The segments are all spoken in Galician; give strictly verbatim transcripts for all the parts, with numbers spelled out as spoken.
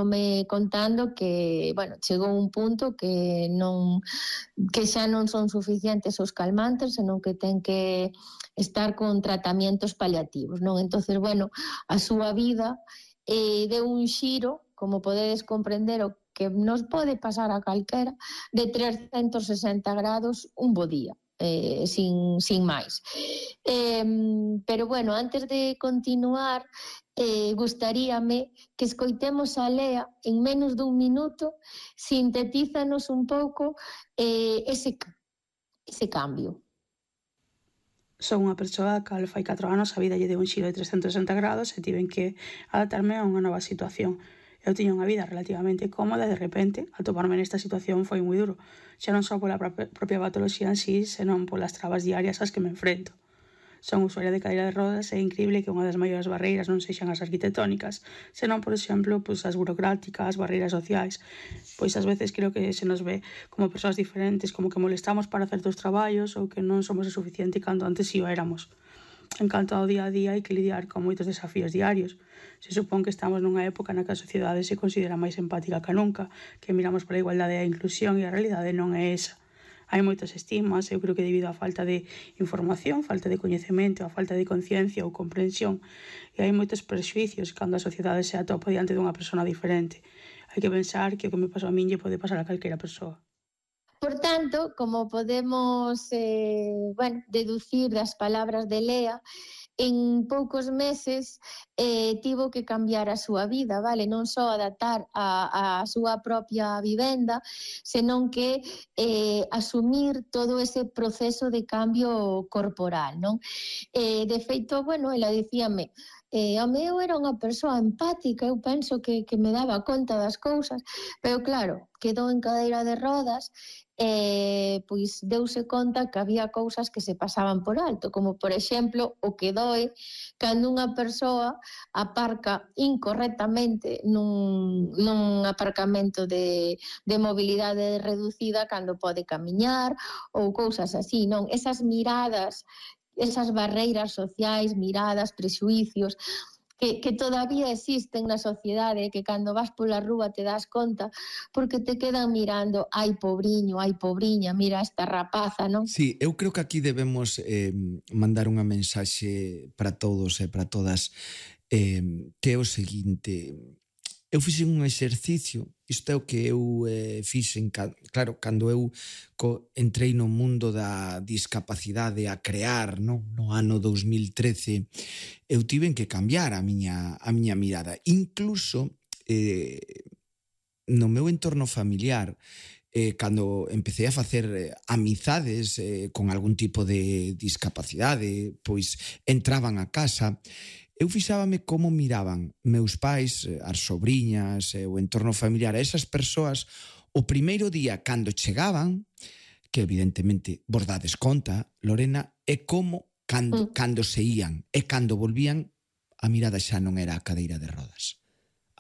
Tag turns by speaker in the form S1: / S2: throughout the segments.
S1: me contando que, bueno, chegou un punto que non que xa non son suficientes os calmantes, senón que ten que estar con tratamientos paliativos, non? Entonces, bueno, a súa vida eh, deu un xiro, como podedes comprender, o que nos pode pasar a calquera, de trescentos sesenta grados un bo día. Eh, sin, sin máis. Eh, pero, bueno, antes de continuar, eh, gustaríame que escoitemos a Lea en menos dun minuto, sintetízanos un pouco eh, ese, ese cambio.
S2: Son unha persoa que fai catro anos a vida lle deu un xiro de trescentos sesenta grados e tiven que adaptarme a unha nova situación. Eu tiña unha vida relativamente cómoda e de repente, al toparme nesta situación foi moi duro, xa non só pola propia patoloxía en sí, senón polas trabas diarias ás que me enfrento. Son usuaria de cadeira de rodas e é increíble que unha das maiores barreiras non sexan as arquitectónicas, senón, por exemplo, pois as burocráticas, as barreiras sociais. Pois ás veces creo que se nos ve como persoas diferentes, como que molestamos para certos traballos ou que non somos o suficiente cando antes si o éramos. En canto ao día a día, hai que lidiar con moitos desafíos diarios. Se supón que estamos nunha época na que a sociedade se considera máis empática que nunca, que miramos pola igualdade e a inclusión e a realidade non é esa. Hai moitos estigmas, eu creo que debido á falta de información, falta de coñecemento, a falta de conciencia ou comprensión, e hai moitos prexuicios cando a sociedade se atopa diante dunha persona diferente. Hai que pensar que o que me pasou a min lle pode pasar a calquera persoa.
S1: Por tanto, como podemos eh, bueno, deducir das palabras de Lea, en poucos meses eh, tivo que cambiar a súa vida, vale? Non só adaptar a, a súa propia vivenda, senón que eh, asumir todo ese proceso de cambio corporal, non? Eh, de feito, bueno, ela dicíame, eh, a meu era unha persoa empática, eu penso que, que me daba conta das cousas, pero claro, quedou en cadeira de rodas, eh, pois deuse conta que había cousas que se pasaban por alto, como por exemplo o que doe cando unha persoa aparca incorrectamente nun, nun aparcamento de, de mobilidade reducida cando pode camiñar ou cousas así, non? Esas miradas, esas barreiras sociais, miradas, prexuicios, que, que todavía existen na sociedade, que cando vas pola rúa te das conta, porque te quedan mirando, ai pobriño, ai pobriña, mira esta rapaza, non?
S3: Sí, eu creo que aquí debemos eh, mandar unha mensaxe para todos e para todas, eh, que é o seguinte. Eu fixen un exercicio, isto é o que eu eh, fixen, claro, cando eu co, entrei no mundo da discapacidade a crear, no, no ano dos mil trece, eu tiven que cambiar a miña, a miña mirada. Incluso eh, no meu entorno familiar, eh, cando empecé a facer eh, amizades eh, con algún tipo de discapacidade, pois entraban a casa, eu fixábame como miraban meus pais, as sobriñas, o entorno familiar, a esas persoas, o primeiro día cando chegaban, que evidentemente vos dades conta, Lorena, é como cando, mm. cando se ían, e cando volvían, a mirada xa non era a cadeira de rodas.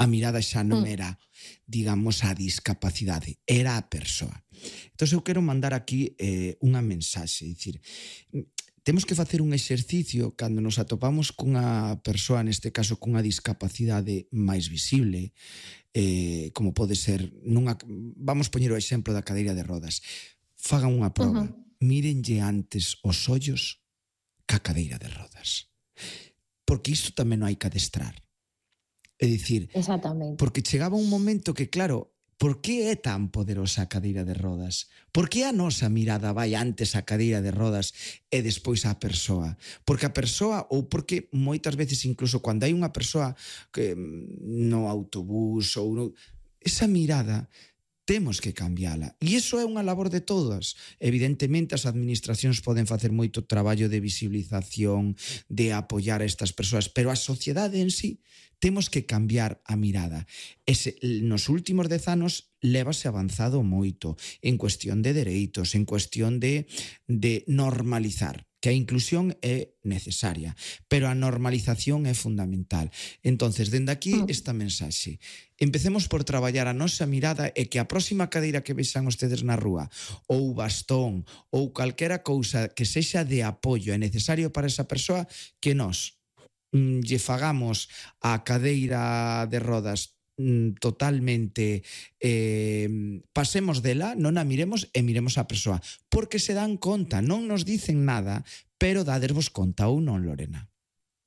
S3: A mirada xa non era, digamos, a discapacidade, era a persoa. Entón eu quero mandar aquí eh, unha mensaxe, dicir, temos que facer un exercicio cando nos atopamos cunha persoa, neste caso cunha discapacidade máis visible, eh, como pode ser, nunha, vamos poñer o exemplo da cadeira de rodas, fagan unha proba, uh-huh. mírenlle antes os ollos ca cadeira de rodas. Porque isto tamén non hai que adestrar. É dicir,
S1: exactamente.
S3: Porque chegaba un momento que, claro, por que é tan poderosa a cadeira de rodas? Por que a nosa mirada vai antes á cadeira de rodas e despois á persoa? Porque a persoa, ou porque moitas veces incluso cando hai unha persoa que no autobús ou no, esa mirada temos que cambiala. E iso é unha labor de todas. Evidentemente, as administracións poden facer moito traballo de visibilización, de apoiar a estas persoas, pero a sociedade en sí temos que cambiar a mirada. Ese, nos últimos dez anos lévase avanzado moito en cuestión de dereitos, en cuestión de, de normalizar, que a inclusión é necesaria, pero a normalización é fundamental. Entonces, dende aquí, esta mensaxe. Empecemos por traballar a nosa mirada e que a próxima cadeira que vexan ustedes na rúa, ou bastón, ou calquera cousa que sexa de apoio e necesario para esa persoa, que nós lle fagamos a cadeira de rodas mm, totalmente eh, pasemos dela, non a miremos e miremos a persoa, porque se dan conta, non nos dicen nada, pero dadervos conta ou non, Lorena?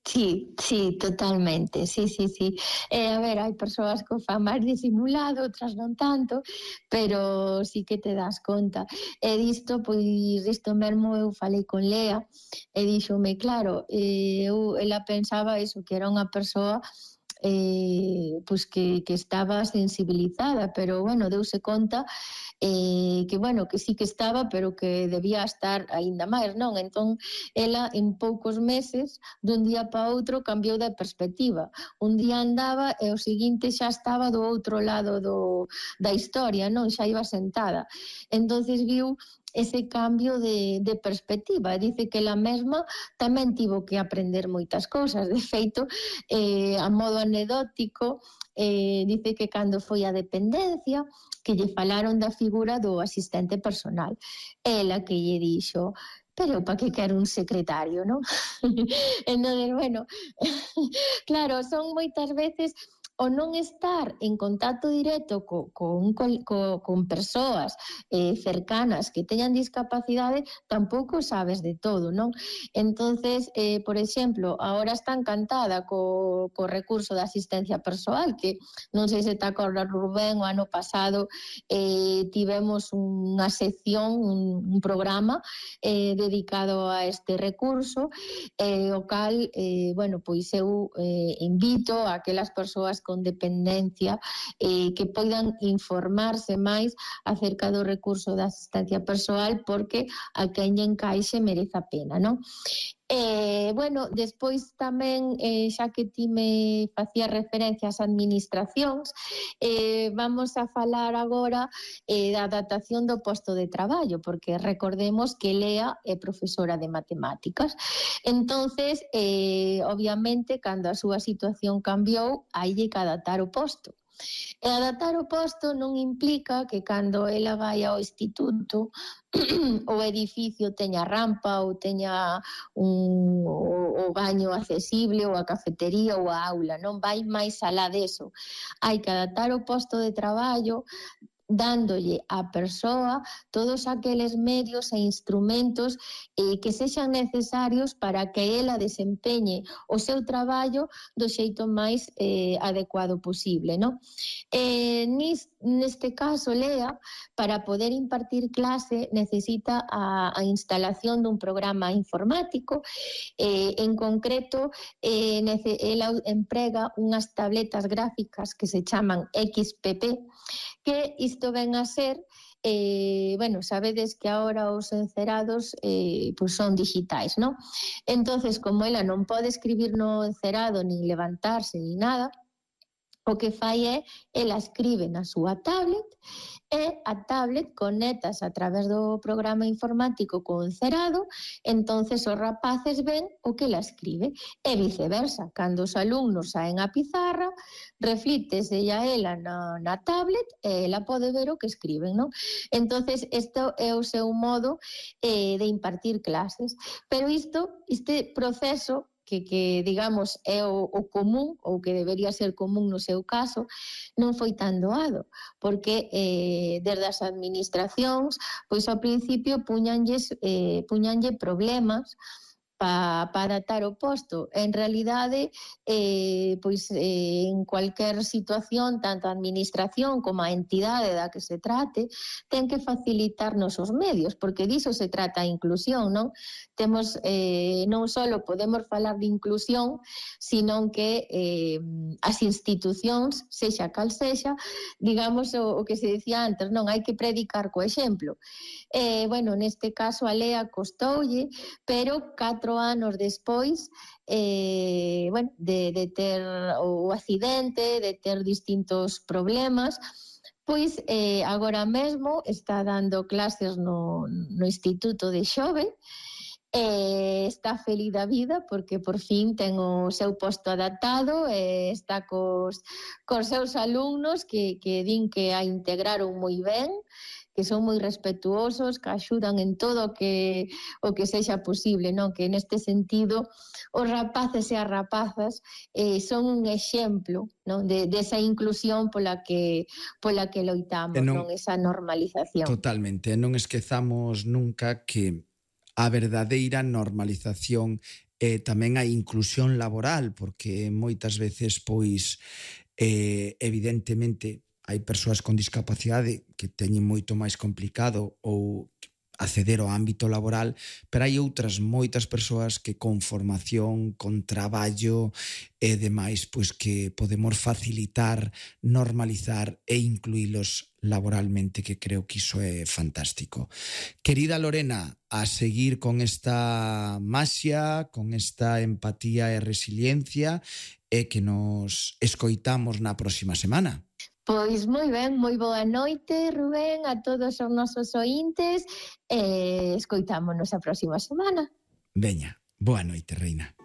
S1: Sí, sí, totalmente, sí, sí, sí. Eh, a ver, hai persoas que o fan máis disimulado, outras non tanto, pero sí que te das conta. E disto, pois, disto mesmo eu falei con Lea e díxome, claro, eh, eu, ela pensaba eso, que era unha persoa eh, pois que, que estaba sensibilizada, pero bueno, deuse conta eh, que bueno, que sí que estaba, pero que debía estar aínda máis, non? Entón, ela en poucos meses, dun día para outro, cambiou de perspectiva. Un día andaba e o seguinte xa estaba do outro lado do, da historia, non? Xa iba sentada. Entonces viu ese cambio de, de perspectiva. Dice que ela mesma tamén tivo que aprender moitas cousas. De feito, eh, a modo anecdótico, eh, dice que cando foi a dependencia, que lle falaron da figura do asistente personal. Ela que lle dixo, pero para que quero un secretario, non? Entón, bueno, claro, son moitas veces o non estar en contacto directo co, con, co, con persoas eh, cercanas que teñan discapacidade, tampouco sabes de todo, non? Entonces, eh, por exemplo, ahora está encantada co, co recurso de asistencia persoal, que non sei se te acordas, Rubén, o ano pasado eh, tivemos unha sección, un, un programa eh, dedicado a este recurso, eh, o cal, eh, bueno, pois eu eh, invito a aquelas persoas con dependencia eh, que poidan informarse máis acerca do recurso de asistencia persoal, porque a quen lle encaixe merece a pena, non? Eh, bueno, despois tamén, eh, xa que ti me facía referencia ás administracións, eh, vamos a falar agora eh, da adaptación do posto de traballo, porque recordemos que Lea é profesora de matemáticas. Entonces, eh, obviamente, cando a súa situación cambiou, hai que adaptar o posto. E adaptar o posto non implica que cando ela vai ao instituto o edificio teña rampa ou teña un, o, o baño accesible ou a cafetería ou a aula, non vai máis alá deso. Hai que adaptar o posto de traballo dándolle á persoa todos aqueles medios e instrumentos eh, que sexan necesarios para que ela desempeñe o seu traballo do xeito máis eh, adecuado posible, non? Eh, nis, neste caso, Lea, para poder impartir clase necesita a, a instalación dun programa informático, eh, en concreto, eh, nece, ela emprega unhas tabletas gráficas que se chaman X P P, que isto ven a ser, eh, bueno, sabedes que agora os encerados eh, pues son digitais, non? Entonces, como ela non pode escribir no encerado, nin levantarse, nin nada, o que fai é, ela escribe na súa tablet e a tablet conectas a través do programa informático co encerado, entonces os rapaces ven o que ela escribe e viceversa. Cando os alumnos saen a pizarra, reflítese a ela na, na tablet e ela pode ver o que escriben, non? Entonces, isto é o seu modo eh, de impartir clases. Pero isto, este proceso que, que digamos, é o, o común, ou que debería ser común no seu caso, non foi tan doado, porque eh, desde as administracións, pois ao principio puñanlles, eh, puñanlle problemas para pa adaptar o posto. En realidade, eh, pois eh, en cualquier situación, tanto a administración como a entidade da que se trate, ten que facilitarnos os medios, porque diso se trata a inclusión, non? Temos, eh, non só podemos falar de inclusión, sino que eh, as institucións, sexa cal sexa, digamos o, o que se decía antes, non hai que predicar co exemplo. Eh, bueno, neste caso a Lea costoulle, pero catro anos despois eh, bueno, de, de ter o accidente, de ter distintos problemas, pois eh, agora mesmo está dando clases no, no Instituto de Xove, e está feliz da vida porque por fin ten o seu posto adaptado e está cos, cos seus alumnos que, que din que a integraron moi ben que son moi respetuosos, que axudan en todo o que o que sexa posible, non? Que neste sentido os rapaces e as rapazas eh, son un exemplo, non? De, de esa inclusión pola que pola que loitamos, non, non? Esa normalización.
S3: Totalmente, non esquezamos nunca que a verdadeira normalización é tamén a inclusión laboral, porque moitas veces, pois, eh, evidentemente, hai persoas con discapacidade que teñen moito máis complicado ou acceder ao ámbito laboral, pero hai outras moitas persoas que con formación, con traballo e demais, pois que podemos facilitar, normalizar e incluílos laboralmente, que creo que iso é fantástico. Querida Lorena, a seguir con esta maxia, con esta empatía e resiliencia, e que nos escoitamos na próxima semana.
S1: Pois moi ben, moi boa noite, Rubén, a todos os nosos ointes e escoitámonos a próxima semana.
S3: Veña, boa noite, reina.